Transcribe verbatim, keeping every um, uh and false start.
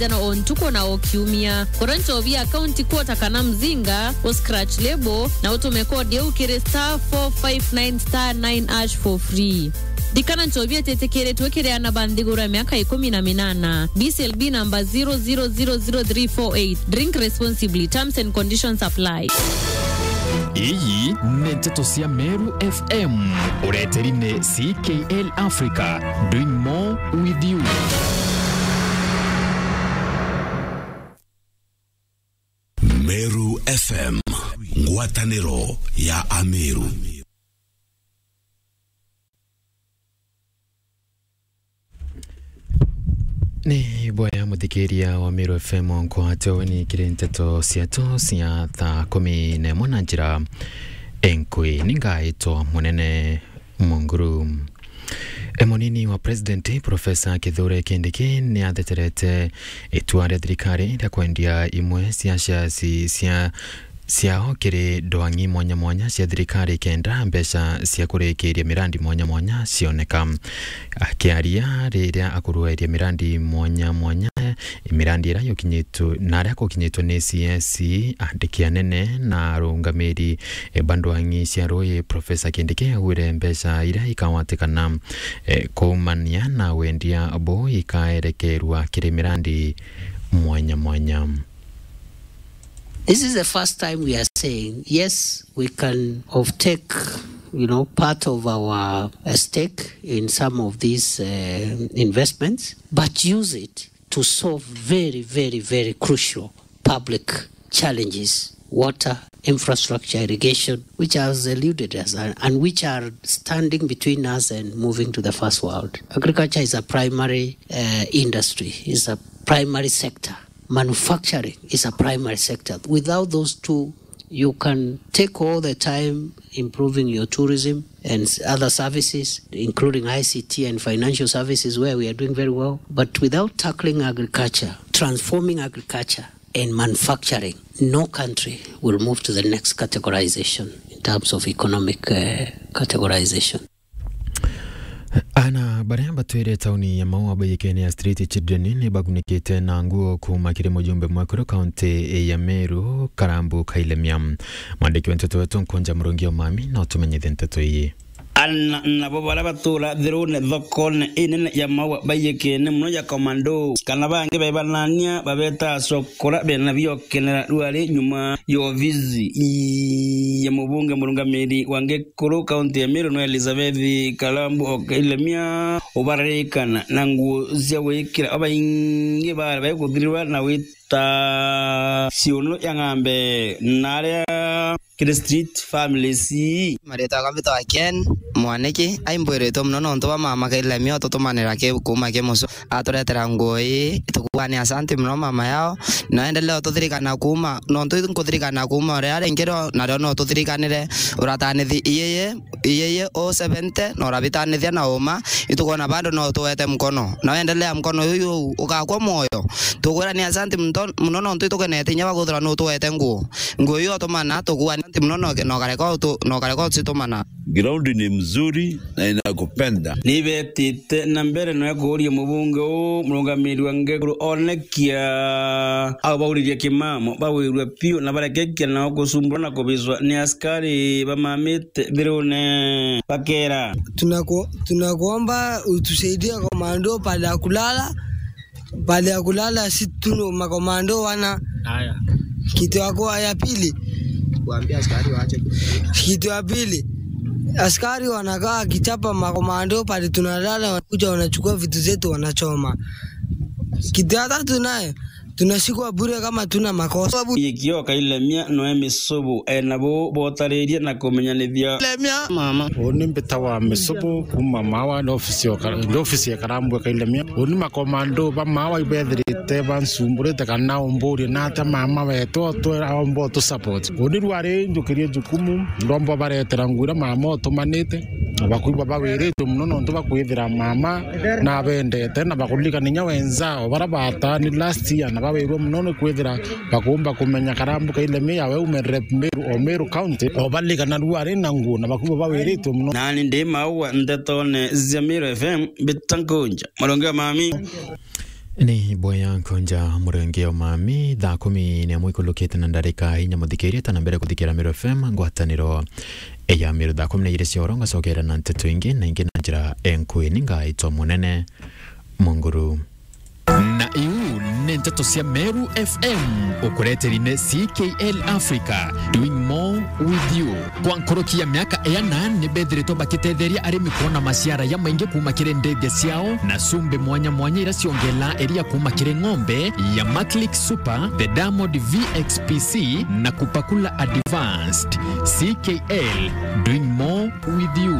Jana o ntuku na o kiumia. Gura nchobi ya County Quarter kana Mzinga, u scratch label, na utume code iu kiri star four five nine star nine hash for free. Ndikana nchobi ititikiritwe kiri ana ba nthiguru ya miaka ikumi na minana. B C L B number zero zero zero zero three four eight. Drink responsibly. Terms and conditions apply. Iyi ni nteto cia Meru F M. Ureteri ni C K L Africa. Doing more with you. Meru F M, ngwataniro ya Ameru. Ni bwega muthikiria wa Meru F M, nkwate weni kiri nteto ciatu cia thaa kumi na imwe na njira enkui. Ningaitwa Munene Munguru. E, munini wa President, Professor Kithure Kindiki, ni atheterete itua ria thirikari ria kwendia imwe cia shares cia, ciao kiri ndwang'i mwanya mwanya cia thirikari, kenda mbeca cia kurikiria mirandi mwanya mwanya cioneka. Akiaria riria akurueria mirandi mwanya mwanya, mirandi iria yukinyitwe na aria kukinyitwe ni C S, andiki anene na arungamiri, e, ba ndwang'i cia rui, Professor Kindiki augire mbeca iria ikawatikana, e, kuumania na wendia buu ikaerekerwa kiri mirandi mwanya mwanya. This is the first time we are saying, yes, we can offtake, you know, part of our, uh, stake in some of these, uh, investments, but use it to solve very, very, very crucial public challenges, water, infrastructure, irrigation, which has eluded us and, and which are standing between us and moving to the first world. Agriculture is a primary, uh, industry, is a primary sector. Manufacturing is a primary sector. Without those two, you can take all the time improving your tourism and s-, other services, including I C T and financial services, where we are doing very well. But without tackling agriculture, transforming agriculture and manufacturing, no country will move to the next categorization in terms of economic, uh, categorization. Ana baria batwire tauni ya Maua baiyikene ya Street Children ni bagunikite na nguo kuuma kiri mujumbe mwekuru kaunti ya Meru, Karambu Kailemia. Mwandiki wa nteto wetu Nkunja Murungi Omami no tumenyithie nteto iyi. Ana nabo baria batura thirune thokone inene ya Maua baiyikene muno ya Commando, kana bangi bebanania babeta cokora bena biokenera rwari nyuma ya obici ya mubunge murungamiri wa Ngikuru kaunti ya Meru no Elizabeth Karambu Kailemia, ubaririkana na nguo cia gwikira. Abaingi bari baikuthirirwa na wita ciuno ya ng'ambe na aria kiri street families. Maritwa yakwa mbitagwa Ken Mwaniki, aimbwiritwe muno nontu bwa mama Kailemia ututumanira ki kuuma ki mucu. Aturetera nguo ii, tukuuga ni asanti muno mama yao, na endelee ututhirikana kuuma, nontu nkuthirikana kuuma uria ringi rio, nario no ututhirikanire, uratanithi iyeye, iyeye o seventy, na urabitanithia na uma, itukwona bado no utuwete mkono. Na wendelea mkono yuyu ugakwa mwoyo. Tukwira ni asanti mto-, muno nontu itukenete inya baguthira ni utuwete nguo. Nguo iu utumana, tukuuga ni asanti muno no, no kareka utu-, no kareka ucitumana. Ground ni mzuri na inakupenda. Nibetite na mbere na kuuria mubunge uu murungamiri wa Ngikuru onekia au bauririe kimamo, bawirwe piu na barekekia nao kusumbura na kubicwa ni askari bamamite thirune. Bakera. Tunaku-, tunakuomba utusaidie komando pale ya kulala. Pahali ya kulala, si tu makomando wana. Haya. Kitu ya kwa-, ya pili. Waambie askari waache. Kitu ya pili, askari wanakaa wakichapa makomando pale tunalala, wanakuja wanachukua vitu zetu wanachoma. Kitu ya tatu naye, tunashikwa bure kama tuna makosa. Ikio Kailemia noe misubu ena bo botaririe na kumenyanithia. Lemia. Mama. Uni mbitawa misubu kuma Mawa, ni ofisi ya Kara-, ni ofisi ya Karambwe Kailemia. Uni makomando ba Mawa ibethirite bansumburite kana umburie nata mama wetu otwera omba utu support. Uni rwari njukirie jukumu, ndomba baretera nguo iria mama utumanite. Na bakwigua bawiritwe muno nontu bakwithira mama nabendete na bakuririkana inya wenzao bara batani last year na bawirwe muno ni kwithira bakumba kumenya Karambu Kailemia we ume rep Meru o Meru County, o baririkana rwari na nguo na bakwigua bawiritwe muno. Nani ndi Maua ntetone cia Meru F M, mbita Nkunja Murungi Omami. Ni bwega nkunja murenge o mami, thaa kumi ni amwe ikulukite na ndarika inya muthikiria tana mbere kuthikira Meru F M, ngwataniro ya Meru. Thaa kumi na ijiri cia oro ngacokera na nteto ingi na ingi na njira enkui. Ni ngaitwa Munene Munguru. Na iu ni nteto cia Meru F M, ukureteri ni C K L Africa, doing more with you. Kwa nkoroki ya miaka iana, ni bethiritwe bakitetheria arimi kwona maciara jamaingi kuuma kiri ndege ciao na cumbi mwanya mwanya iria ciongela iria kuuma kiri ng'ombe ya Maclick Super, the Diamond V X P C na Kupakula Advanced. C K L, doing more with you.